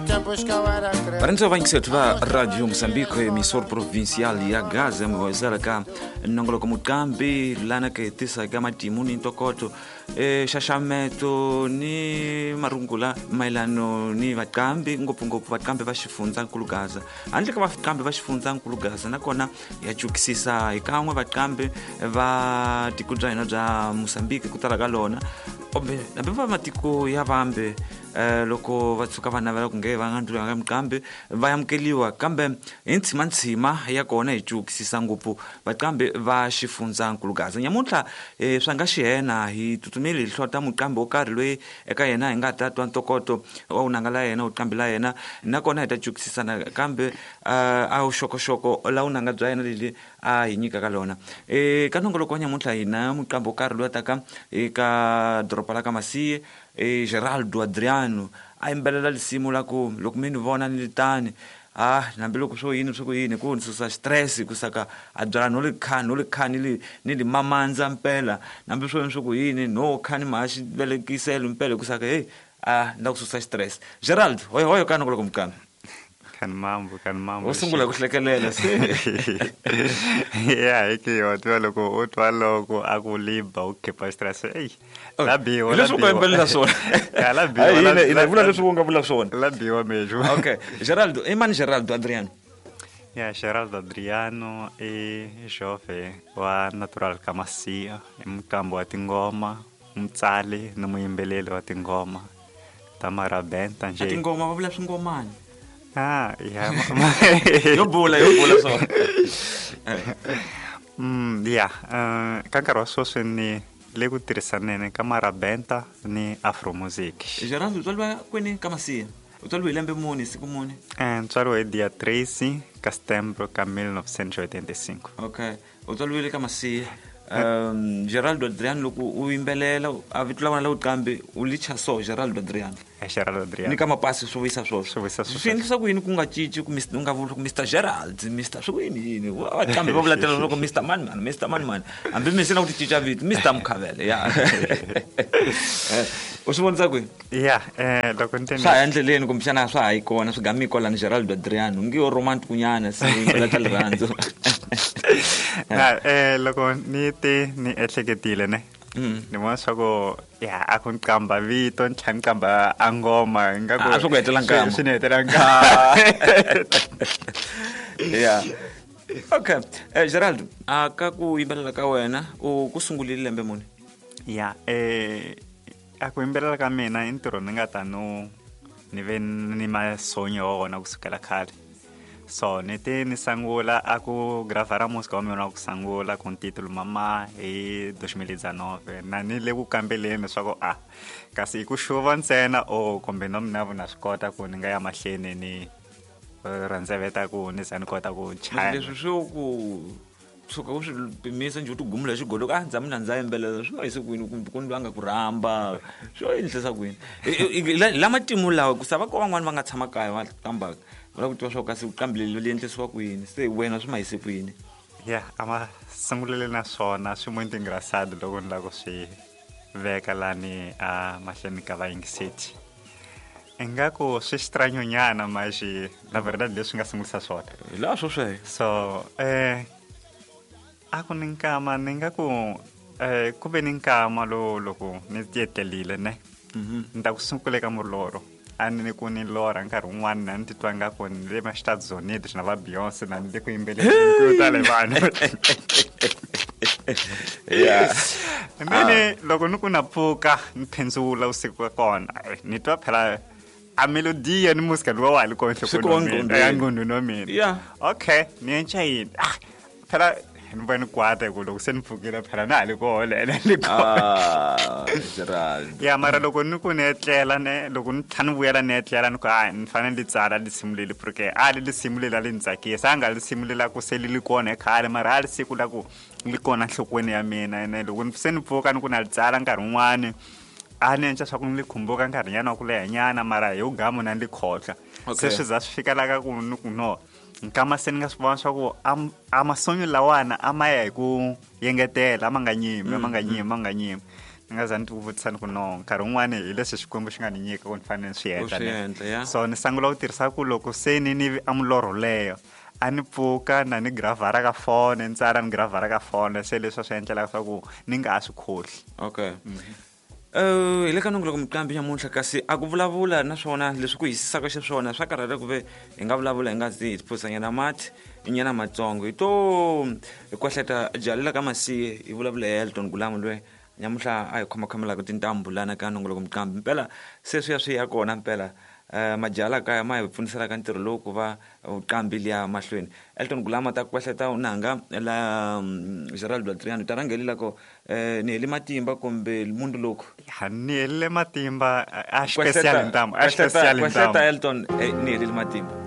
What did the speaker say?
Tempos que eu era criança. Varendzo vayingisethu va Radio Moçambique, emissor provincial ya Gaza, mi hoyisela ka nongoloko muqambi lana ka hi tisa ka matimu ni ntokoto, xaxameto ni marungula mayelano ni vaqambi, ngopfungopfu vaqambi va xifundzankulu Gaza. Handle ka vaqambi va xifundzankulu Gaza, nakona ya cukisisa hi kan'we vaqambi va tiko bya hina bya Moçambique ku tala ka lona, kumbe hambi va matiko ya vambe, loko va tshuka va navela ku nge va nga ndlula nga miqambi va amukeliwa, kambe hi ntshima ya kona hi cukisisa ngopfu vaqambi va xifundzankulu Gaza. Nyamuntlha swa nga xihena hi tsutsumile hi hlota muqambi wo karhi loyi eka yena hi nga ta twa ntokoto wa vunanga la yena, vuqambi la yena, nakona hi ta cukisisa nakambe a vuxokoxoko la vunanga bya yena leli a hi nyikaka lona. Ka nongoloko wa nyamuntlha hi na muqambi wo karhi loyi a taka eka doroba la ka Masiye, Geraldo Adriano, a yimbelela lisimu la ku loko mi ni vona ni litani, hambiloko swo yini swo ku yini ku ni susa stress, ku saka a byala no li kha no li kha ni li ni li mamandza mpela, hambi swo yini swo ku yini no kha ni ma xi velekiselo mpela, ku saka hey ni la ku susa stress. Gerald, hoyo hoyo ka nongoloko muqambi. Kan mambo, kan mambo. U sungula ku hlekelela se. Ya, hi ki yo twa loko u twa loko a ku liba u khipa stress. Ey. Oh, La biwa, hi la leswi u nga biwa. yimbelela swona. Ya, la biwa, Hayi, la- hina la- hi vula leswi u nga vula swona. La biwa mejo. Okay, Geraldo, i mani Geraldo Adriano? Ya, Geraldo Adriano i jove wa natural Kamasia, i muqambi wa tingoma, mutsali ni muyimbeleri wa tingoma ta marabenta A nje. tingoma va vula swingomani. Ah, ya. Yo bula, yo bula swona. Ya, ka nkarhi wa sweswi ni le ku tirhisaneni ka marabenta ni afro music. Geraldo, u tswariwa kwini ka Masiya? U tswariwe hi lembe muni, siku muni? Ntswariwe hi dia 13 ka setembro ka 1985. Okay, u tswariwile ka Masiya. Geraldo Adriano, loko u yimbelela a vito la wena la vuqambi u licha so Geraldo Adriano. Geraldo Adriano. Ni ka mapasi swo vuyisa swoswo. Swi vuyisa swoswo. Swi endlisa ku yini ku nga cinci ku u nga vuli ku Mr Gerald, Mr swi ku yini yini? Vaqambi va vula tela loko Mr Mani Mani, Mr Mani Mani. Hambi mi se na ku ti cinca vito, Mr Mukhavele, ya. U swi vonisa kwini? Ya, loko ni te Swa ha endleleni kumbexana swa ha yi kona, swi gami kwalani Geraldo Adriano. Ngi yo romantic nyana, se yimbelela ta rirhandzu. Na, loko ni te ni ehleketile ne. Ni vona swa ku, ya, a ku ni qamba vito, ni tlhela ni qamba a ngoma, ingaku A swi ku hetela nkama. Swi ni hetela nkama. Ya. Okay. Geraldo, a ka ku yimbelela ka wena u ku sungurile lembe muni? Ya, a ku yimbelela ka mina i ntirho ni nga ta no ni ve ni masonyo wa wona kusukela khale. So ni te ni sungula a ku gravara musika wa mina wa ku sungula ku ntitulu mama hi 2019, na ni le ku kambeleni leswaku a kasi i ku xuva ntsena o kumbe no mina na swi kota ku ni nga ya mahleni ni rhandzeveta ku ni za ni kota ku chaya. Leswi swo ku tshuka u swi pimisa njhe u ti gumula xigolo ka ndza mina ndza yimbelela swi ma yise kwini, kumbe ku ni va nga ku rhamba swo endlisa kwini? La matimu lawa ku sava ko van'wani va nga tshama kaya va qambaka va lava ku tiva swa ku kasi vuqambi leli li endlisiwa kwini, se wena swi ma yise kwini? Ya, a ma sungulele na swona swi muito engraçado loko ni lava ku swi veka lani a mahlweni ka vayingiseti. Ingaku swi xitranyo nyana maxi la verdade leswi nga sungulisa swona. Hi laha swo sweswo. So, a ku ni nkama ni nga ku, ku ve ni nkama lowu loko ni tietelile ne. Ni ta ku sungula eka mulorho. A ni ku ni lorha nkarhi wun'wani na ni titwa nga ku ni le ma Estados Unidos na va Beyonce na ni le ku yimbeleleni ku tale vanhu. And then loko ni ku na pfuka ni phendzula vusiku ka kona, ni twa phela a melodiya ni musika luwa wa ha li kona Swi nhlokweni kona wa mina, nqondweni. nqondweni wa mina. Okay, ni enca yini? Phela ni vona ni kwata hi ku loko se ni pfukile phela na ha li kona, ene ni kona. Gerald. Ya, mara loko ni ku ni etlela ne, loko ni tlhela ni vuyela ni etlela ni ku, ni fanele ni tsala lisimu leli, porque a li lisimu leli a li ni tsakisa, a nga lisimu leli a ku se li li kona khale, mara a li siku la ku li kona nhlokweni ya mina. Ene loko se ni pfuka ni ku na li tsala nkarhi wun'wani, a ni endla swa ku ni li khumbuka nkarhinyana wa ku lehanyana, mara hi wugamu na ni li khohlwa. Se swi za swi fika la ka ku ni ku no, nkama se ni nga swi vona swa ku a masonyo lawana a ma ya hi ku yengetela, a ma nga nyimi, a ma nga nyimi, a ma nga nyimi. Ni nga za ni ti vutisa ni ku no nkarhi wun'wani hi leswi Xikwembu xi nga ni nyika ku ni fanele ni swi endla swi endla, ya. So ni sungula ku tirhisa ku loko se ni ni a milorho leyo a ni pfuka na ni gravhara ka fone, ni tsala ni gravhara ka fone, se leswi a swi endlelaka swa ku ni nga ha swi khohli. Okay. Hi le ka nongoloko muqambi nyamuntlha, kasi a ku vulavula naswona leswi ku hisisaka xiswona swa karhata ku ve hi nga vulavula hi nga zi hi phusanyana mati nyana matsongo, hi to hi kwahleta jalela ka masiye hi vulavula hi Elton Gulamu loyi nyamuntlha a hi khomakhomelaka tintambu lana ka nongoloko muqambi. Mpela se swi ya swi ya kona mpela, majala kaya ma hi pfuniselaka ntirho lowu ku va vuqambi liya mahlweni. Elton Gulama ta kwahleta unanga la Gerald Adriano ta rhangelela ko, ni heli matimba kumbe mundu loku. Ya, ni helile matimba a special ntambu, a special Kwahleta ntambu. Elton, ni helile matimba.